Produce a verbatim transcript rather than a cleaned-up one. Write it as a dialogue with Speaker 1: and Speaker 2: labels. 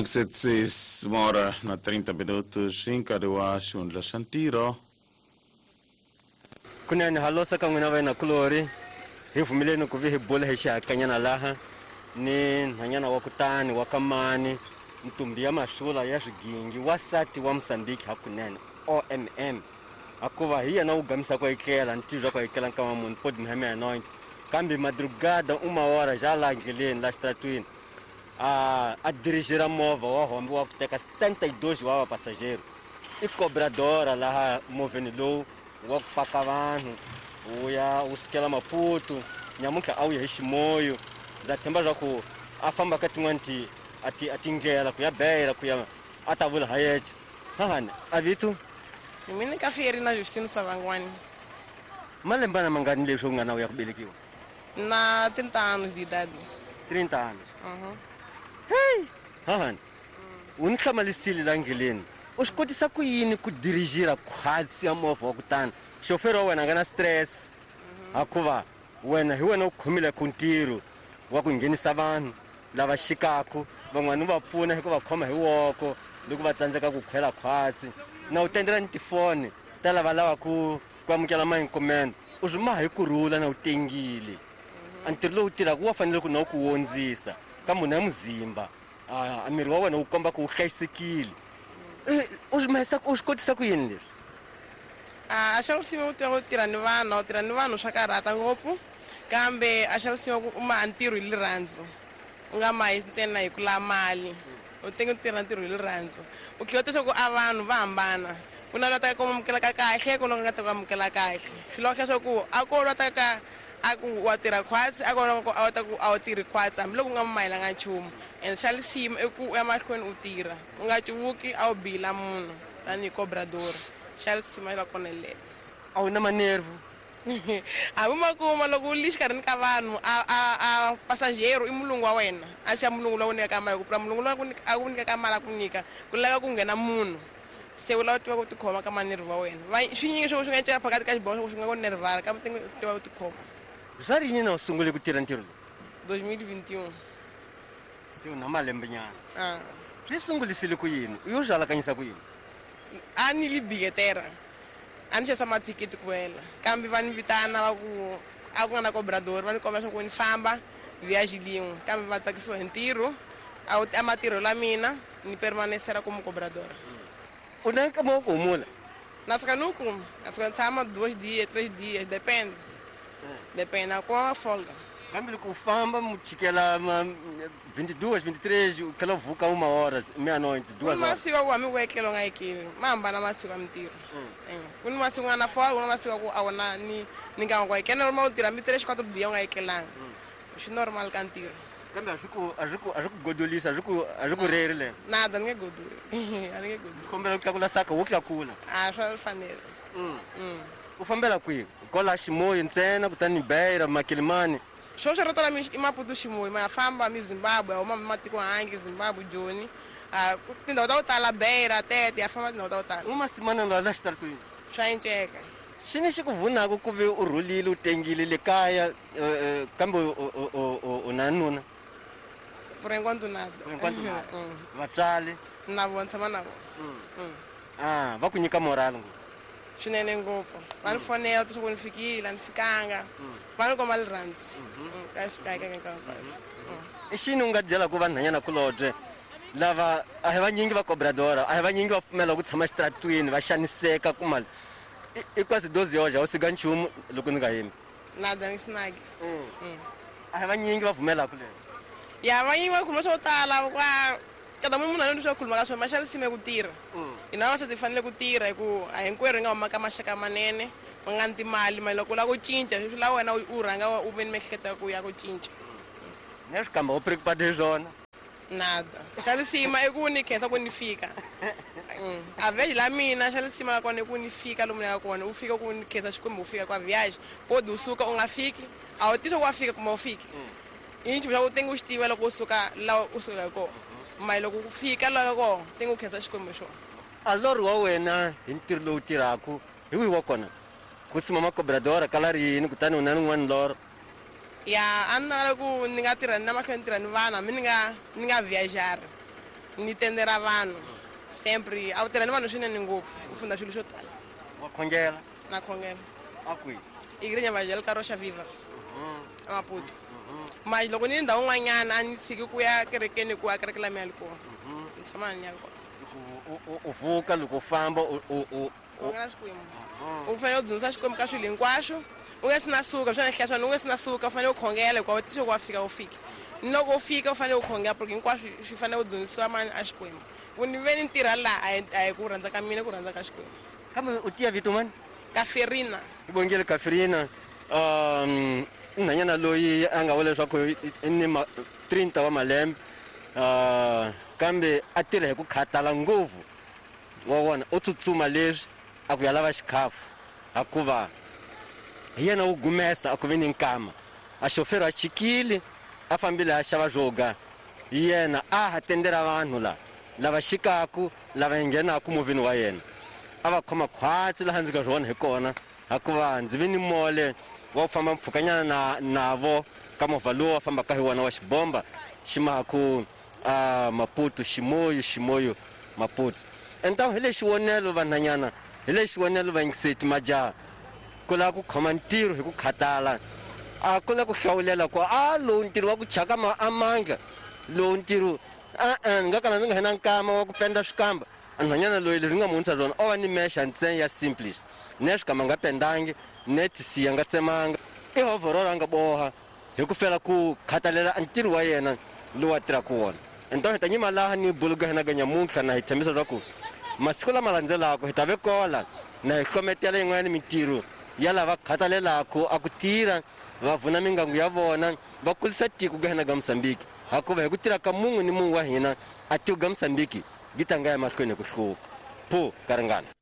Speaker 1: Seis hora na trinta minutos em Caruá, Xundla Xantiro.
Speaker 2: Kunene halosa ka n'wina vena kulori hi pfumeleni ku vi hi bula hi xihakanyana laha ni nhwanyana wa kutani wa kamani ntumbi ya mahlula ya swigingi wasati wa Mozambique hakunene O M M akuva hi yena wu gamisa ku etlela ntirho ku etlela nkama munhu podi mheme ya noint kambe madrugada uma hora já lá endleleni la xitratwini a a dirigira movha wa hombe wa ku teka setenta e dois wa passageiro i cobradora laha movheni lowu wa ku paka vanhu wu ya wu sukela Maputo nyamuntlha a wu ya hi Ximoyo ndza themba leswaku a famba ka tin'wani ti a ti a tindlela ku ya Beira ku ya a ta vula ha yexe hahani a vito
Speaker 3: mina ka Ferina Justino Savangwani
Speaker 2: malembana mangani leswi u nga na u ya ku velekiwa
Speaker 3: na trinta anos de idade.
Speaker 2: trinta anos.
Speaker 3: Uhum.
Speaker 2: Hey, hahani u ni hlamalisile la ndleleni u swi kotisa ku yini ku dirigira khwatsi ya movha wa kutani xoferi wa wena a nga na stress hakuva wena hi wena u khomile ku ntirho wa ku nghenisa vanhu lava xikaku van'wani u va pfuna hi ku va khoma hi woko loko va tsandzeka ku khwela khwatsi na u tendela ni tifoni ta lava lavaku ku amukela mainkomende u swi maha hi kurhula na u tengile a ntirho lowu tirhaka wa fanele ku na u ku wondzisa ka munhu ya muzimba a miri wa wena wu komba ku wu hlayisekile u swi mahisa u swi kotisa ku yini leswi
Speaker 3: a xa lisima u tiva ku tirha ni vanhu u tirha ni vanhu swa karhata ngopfu kambe a xa lisima ku u maha ntirho hi rirhandzu u nga mahi ntsena hi ku lava mali u tenge u tirha ntirho hi rirhandzu u tlhela u tiva ku a vanhu va hambana ku na lwa taka ku amukelaka kahle ku na ku nga ta ku amukela kahle swi lava swa ku a ko lwa taka a ku wa tirha khwatsi a ko lwa ku a wa ta ku a wu tirhi khwatsi hambiloko u nga mayelanga nchumu and xa lisima i ku u ya mahlweni u tirha u nga cuvuki a wu bila munhu tanihi cobrador xa lisima la kona lelo
Speaker 2: a wu na manervu
Speaker 3: a wu ma kuma loko u li xikarhini ka vanhu a a a passageiro i mulungu wa wena a xa mulungu lowu nyikaka mali ku pfula mulungu lowu a ku nyikaka mali a ku nyika ku lava ku nghena munhu se u lava tiva ku tikhoma ka manervu wa wena swinyingi swo swi nga cela phakathi ka xiboho swo swi nga ku nervara kambe u tiva ku tikhoma
Speaker 2: swa rini na u sungule ku tirha ntirho lowu
Speaker 3: dois mil e vinte e um
Speaker 2: se u na malembe nyana
Speaker 3: a
Speaker 2: swi sungulisile ku yini u yo swi alakanyisa ku yini
Speaker 3: a ni li bilheteira a ni xavisa mathikithi ku wela kambe va ni vitana va ku a ku nga na cobrador va ni komba leswaku ni famba viagem lin'we kambe va tsakisiwa hi ntirho a wu a matirho la mina ni permanesera como cobradora
Speaker 2: u na nkama wa ku humula
Speaker 3: na tshuka ni wu kuma na tshuka ni tshama dois dias três dias depende depende na kuma folga
Speaker 2: kambe loko u famba mu chikela ma vinte e duas vinte e três u tlhela u vuka uma hora meia-noite duas horas
Speaker 3: masiku ku hambi ku etlela u nga etleli ma hambana masiku ya mintirho ku ni masiku nga na folga ku na masiku ku a wu na ni ni nkama ku etlela normal u tirha mi três quatro dias u nga etlelanga swi normal ka ntirho
Speaker 2: kambe a swi ku a swi ku a swi ku godolisa a swi ku a swi ku reri le
Speaker 3: nada ni nge godoli a ni nge godoli
Speaker 2: kombela ku tlakula saka wo tlakula
Speaker 3: a swa fanele
Speaker 2: u fambela kwihi kola Ximoyo ntsena kutani Beira Makilimani
Speaker 3: swo swi ro tala i Maputo Ximoyo ma ya famba mi Zimbabwe a huma matiko hangi Zimbabwe Joni a tindhawu ta ku tala Beira Tete ya famba tindhawu ta ku tala
Speaker 2: uma simana la la xitaratwini
Speaker 3: swa enceka
Speaker 2: xi ni xi ku vunaka ku ve u rhulile u tengile le kaya kambe u na nuna
Speaker 3: por enquanto nada
Speaker 2: por enquanto nada vatswari
Speaker 3: na vona tshama na vona
Speaker 2: ah va ku nyika morale ngopfu
Speaker 3: swinene ngopfu va ni fonela to swa ku ni fikile a ni fikanga va ni komba rirhandzu ka xikaya ka hinkwaswo
Speaker 2: i xini u nga byelaka vanhwanyana kulobye lava a hi vanyingi va cobradora a hi vanyingi va pfumela ku tshama xitaratwini va xaniseka ku mali i quase doze horas a wu siga nchumu loko ni nga yimi
Speaker 3: nada ni sinaki
Speaker 2: a hi vanyingi va pfumelaka leswi
Speaker 3: ya vanyingi va khuluma swo tala kwa kada munhu a swo khuluma ka swona ma xa lisime ku tirha hina vavasati hi fanele ku tirha hi ku a hinkwerhu hi nga huma ka maxaka manene ma nga ni timali mali loko u lava ku cinca swi lava wena u rhanga u ve ni miehleketo ya ku ya ku cinca
Speaker 2: ni swi kamba u preocupado hi swona
Speaker 3: nada xa lisima i ku ni khensa ku ni fika a viagem la mina xa lisima la kona i ku ni fika lomu ni yaka kona u fika ku ni khensa Xikwembu u fika kwa viagem podi u suka u nga fiki a wu tivi ku wa fika kumbe u fiki i nchumu xa ku tenge u xi tiva loko u suka laha u sukaka kona mali loko ku fika laha kona tenge u khensa Xikwembu hi xona
Speaker 2: a lorho wa wena hi ntirho lowu tirhaka hi wihi wa kona ku tshama macobradora kala ri yini kutani u na rin'wana lorho
Speaker 3: ya a ni navela ku ni nga tirha ni na mahlweni ni tirha ni vanhu hambi ni nga ni nga viajari Ni tendera vanhu sempre a wu tirha ni vanhu swinene ngopfu u funda swilo swo tala.
Speaker 2: Wa khongela?
Speaker 3: Na khongela.
Speaker 2: A kwihi?
Speaker 3: Igreja Evangélica Rocha Viva a Maputo. Mas loko ni ndhawu n'wanyana a ni tshiki ku ya kerekeni ku a kereke la mina yi kona. Ni tshama ni ya kona.
Speaker 2: U vuka loko u famba u u
Speaker 3: khongela Xikwembu. U fanele u dzunisa Xikwembu ka swilo hinkwaswo. U nga si na suka swi na hlaya swona u nga si na suka u fanele u khongela hikuva u tise ku wa fika u fika. Ni loko u fika u fanele u khongela porque hinkwaswo swi fanele u dzunisiwa mani a Xikwembu. Ku ni ve ni ntirha laha a hi ku rhandza ka mina ku rhandza ka Xikwembu.
Speaker 2: Kambe u tiya vito mani?
Speaker 3: Kaferina.
Speaker 2: I bongile Kaferina. Um nhwanyana loyi a nga vula leswaku i ni trinta wa malembe uh kambe a tirha hi ku khatala ngopfu. Wa vona u tsutsuma leswi a ku ya lava xikhafu hikuva hi yena wu gumesa a ku vi ni nkama. A xofero a chikile a fambile a xava swo yena a ha tendera vanhu la lava xikaku lava nghenaku movheni wa yena. A va khoma khwatsi laha ndzi nga swi vona hi kona hikuva ndzi vi ni mole wa ku famba mpfhukanyana na navo ka movha lowu wa fambaka hi wona wa xibomba xi maku a Maputo Ximoyo Ximoyo Maputo. Entamu hi lexi vonelo vanhanyana hi lexi vonelo vayingiseti majaha ku lava ku khoma ntirho hi ku khatala a ku lava ku hlawulela ku a lowu ntirho wa ku chaka a mandla lowu ntirho a ni nga kala ni nga hina nkama wa ku penda swikamba. Nhwanyana loyi leswi nga muhundza swona o va ni mexa ntsena ya simplist ne swikamba nga pendangi ne tisiya nga tsemanga i overall a nga boha hi ku fela ku khathalela ntirho wa yena lowu a tirhaka wona. Ento hi ta nyima laha ni buluga hina ga nyamuntlha na hi tshembisa leswaku masiku lama landzelaka hi ta ve kola na hi hlometela yin'wana mintirho ya lava khathalelaka a ku tirha va vuna mingangu ya vona va kulisa tiko ga hina ga Mozambique hikuva hi ku tirha ka mun'we ni mun'we wa hina a tiko ga Mozambique yi tanga ya mahlweni hi ku hluka. Phu ka ringana.